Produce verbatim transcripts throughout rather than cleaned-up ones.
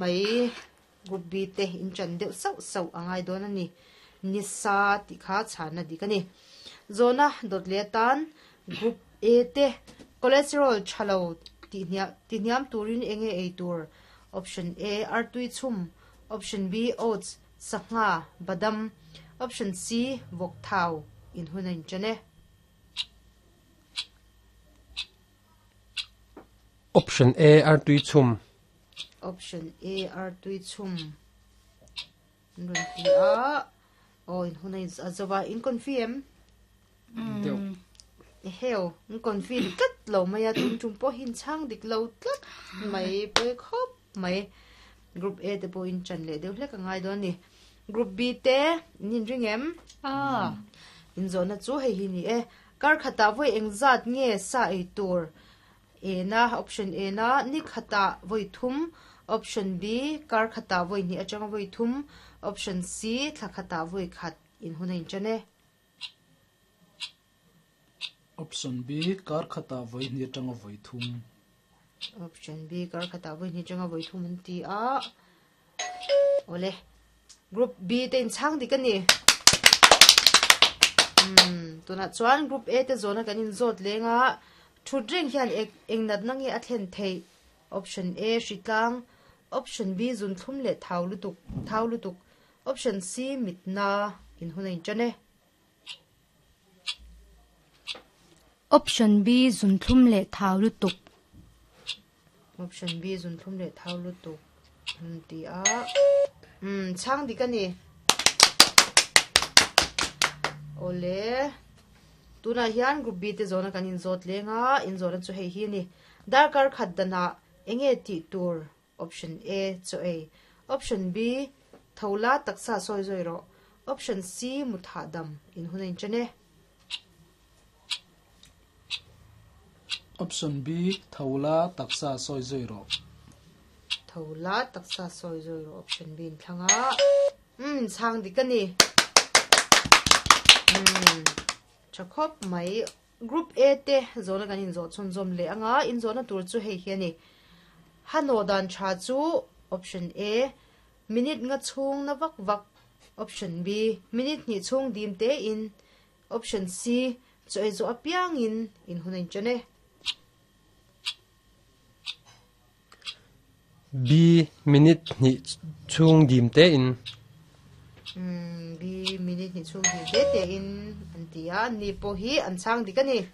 Mai group B te in chan deuh sauh sauh a ngai dawn a ni. Nisa tih kha chhana dik a ni. Zawhna dawt leh atan group A te cholesterol tha lo tihhniam turin eng nge ei tur? Option A artui chhum, option B oats, sangha, badam, option C vawk thau in hun a inṭan e. Option A artui chhum. Option A artui chhum an rawn ti a, aw in hun a a zo a, in confirm em? Deuh. Eheu, in confirm tlat lo mai a, tum tum pawh hi in chhang dik lo tlat mai, pawi khawp mai. Group A te pawh in chan leh deuh hlek a ngai dawn a ni. Group B te in inring em? Aw. In zawhna chu hei hi ni e. Kar khatah vawi engzat nge sa ei tur? A na, option A na, ni khatah vawi thum, option B, kar khatah vawi hnih atanga vawi thum, option C, thla khatah vawi khat in hun a inṭan e. Option B, kar khatah vawi hnih atanga vawi thum. Option B, kar khatah vawi hnih atanga vawi thum an ti a. Awle, group B te inchhang dik a ni. Umm, tunah chuan group A te zawhna kan inzawt leng a, Thut reng hian eng natna nge a thlen theih? Option A, hritlang, Option B, zunthlum leh thau lutuk, thau lutuk, Option C, mitna in hun a inṭan e. Option B, zunthlum leh thau lutuk. Option B, zunthlum leh thau lutuk an ti a. Umm, chhang dik a ni. Awle. Tunah hian Group B te zawhna kan inzawt leng a, inzawhna chu hei hi a ni. Darkar khat danah eng nge tih tur? Option A, chaw ei. Option B, tho la taksa sawi zawi rawh. Option C, mut hahdam in hun a inṭan e. Option B, tho la taksa sawi zawi rawh. Tho la taksa sawi zawi rawh option B in thlang a. Umm, chhang dik a ni. Umm, tha khawp mai. Group A te zawhna kan inzawh chhunzawm leh anga inzawhna tur chu hei hi a ni. Hanawh dan tha chu option A, minute nga chhung na vak vak, option B, minute hnih chhung dim te in, option C, chaw ei zawh apiangin in hun a inṭan e. B, minute hnih chhung dim te in. Umm, B, minute hnih chhung dim te te in an ti a, ni pawh hi an chhang dik a ni.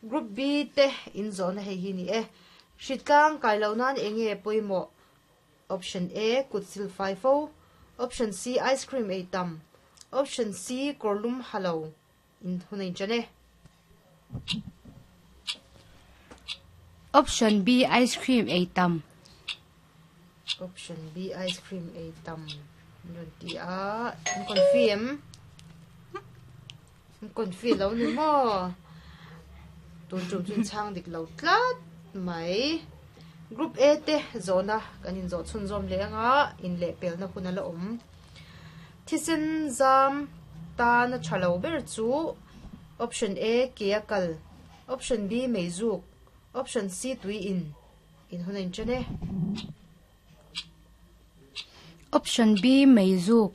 Group B te in zawhna hei hi ni e. Hritlang kai loh nan eng nge pawimawh? Option A, kut sil fai fo. Option C, ice cream ei tam. Option C, kawrlum ha lo. In hun a inṭan e. Option B, ice cream ei tam. Option B, ice cream ei tam. An rawn ti a, an confi em? An confi lo ni maw? Tun tum chu inchhang dik lo tlat mai. Group A te zawhna kan inzawh chhunzawm leh anga inlehpelna hun a la awm. Thisen zam tana tha lo ber chu Option A, ke a kal, Option B, meizuk, Option C, tui in in hun a inṭan e. Option B, meizuk.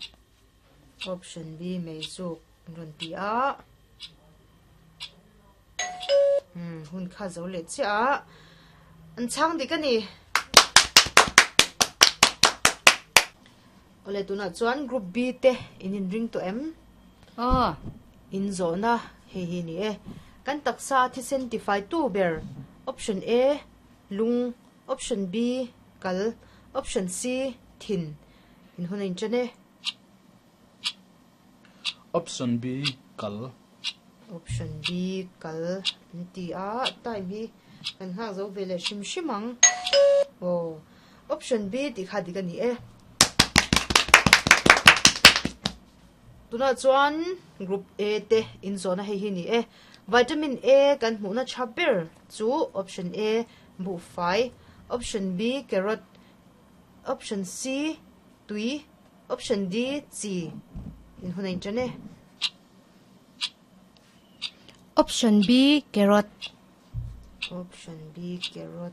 Option B, meizuk an rawn ti a. Hmm, hun kha zo leh chiah a. An chhang dik a ni. Awle tunah chuan group B te in inring tawh em? Aw. In zawhna hei hi ni e. Kan taksa thisen tifai tu ber option A lung, option B kal, option C thin in hun a inṭan e. Option B kal. Option B kal an ti a, time hi kan nghak zo ve leh hrim hrim ang. Aw. Option B tih kha dik a ni e. Tunah chuan Group A te inzawhna hei hi ni e. Vitamin A kan hmuhna tha ber chu Option A buhfai, Option B carrot, Option C tui, Option D chi in hun a inṭan e. Option B carrot. Option B carrot.